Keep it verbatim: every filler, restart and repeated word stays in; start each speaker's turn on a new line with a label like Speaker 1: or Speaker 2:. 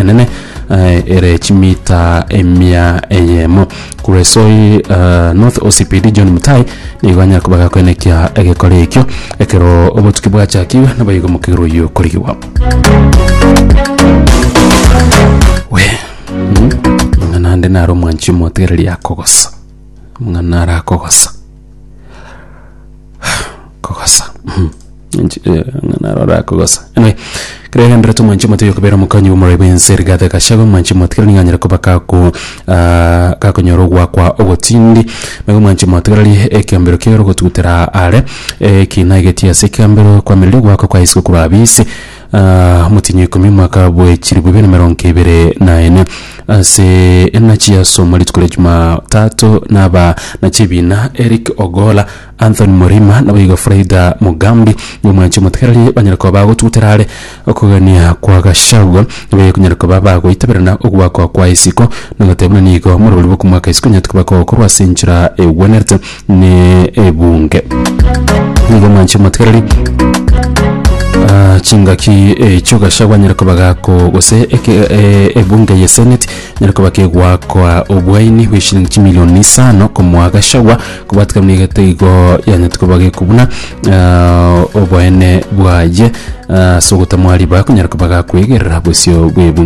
Speaker 1: Enene eh, ere chimita emia eyemo. Kuresoi uh, North O C P D John Mutai nigo anyara koba gakoenekia egekore ekio ekero obotuki bwachakiwe, naboigo omokegiro oyio korigigwa. We mm, mang'ana ande naro omwanchi omotegereri akogosa, mang'ana naro akogosa kogosa. Mhm. Nchi- eh, ng'ana naro arakogosa. Anyway, kere genderete omwanchi omotebi okobera omokonyi bw'omoroi bw'ense Rigathi Gachagua, omwanchi omotegereri nigo anyare koba kaku ah, kakonyora ogwakwa ogotindi. Nigo omwanchi omotegereri ekiambero kiaye ogotugutera are ekina egetia ase ekiambero kwamereria ogwakwa kwa isiko korwa abisi Ah, omotinyi ikomi omwaka bwe chilifu ibere na emerongo ebere na ene ase enachi yasoma rituko ria Jumatatu naba na chibina Eric Ogola, Anthony Murima naboigo Frida Mugambi. Omwanchi omotegereri banyara koba bagotugutera are okogania kwa Gachagua, naboigo konyara koba bagoitaberana ogwakwa kwa isiko nogoteba buna nigo morobori bw'okomwaka isiko nyarete koba kogokorwa ase enchera egwenerete ne ebunge. Nigo omwanchi omotegereri Ah, chingaki echio Gachagua anyare koba gako gose eke- eh, ebunge ye Senate nyare koba kegwakwa obwaini bwe shilingi chimilioni isano komoa Gachagua kobwatikana nigo igo yanyete koba gekobuna ah, oboene bwaye ah, ase ogotamwa ribaga konyara koba gakwegerera bosio bwe ebunge.